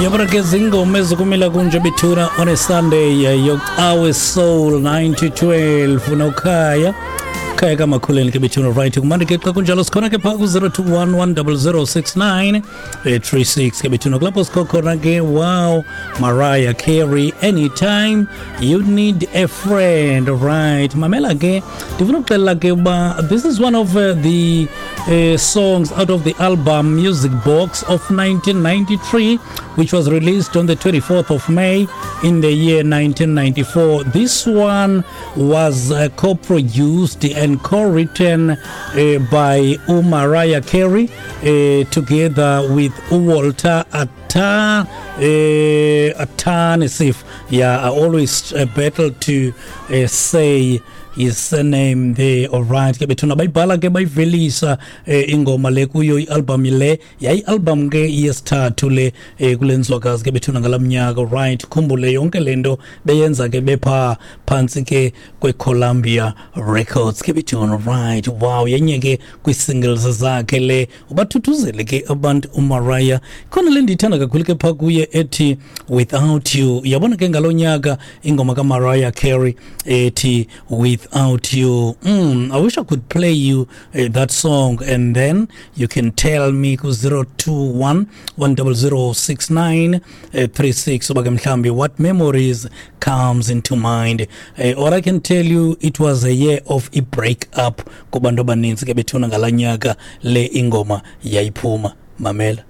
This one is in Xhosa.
Uyabona ke zingoma ezikumila kunje bethuna on a Sunday, yocawe soul 9 to 12 nokhaya khaya kamakhuleni ke bethuna. Right, kumandi ke xa kunjalo. Sikhona ke phaa ku-021 10069 36 ke bethuna, kulapho sikho khona ke. Wow, Mariah Carey, "Anytime You Need a Friend." Right, mamela ke, ndifuna ukuxelela ke uba this is one of the songs out of the album Music Box of 1993, which was released on the 24th of May in the year 1994. This one was co-produced and co-written by uMariah Carey together with Walter Atanasif. Yeah, I always battle to say his surname there. Alright ke bethuna, bayibhala ke bayivelisa ingoma le kuyo i-album le. Yayi-album ke yesithathu le kule nzwakazi ke bethuna ngala mnyaka. Right, khumbule yonke le nto beyenza ke bepha phantsi ke kwe-Columbia Records ke bethuna. Right, wow, yenye ke kwii-singles zakhe le. Ubathuthuzele ke abantu uMariah. Khona le ndiyithanda kakhulu ke phaa kuye ethi "Without You". Yabona ke ngalo nyaka ingoma kaMariah Carey ethi "Without You". I wish I could play you that song and then you can tell me ku-021 10069 36 uba ke mhlawumbi what memories comes into mind. Or I can tell you it was a year of a break up kubantu abaninzi ke bethuna ngalaa nyaka le ingoma yayiphuma. Mamela.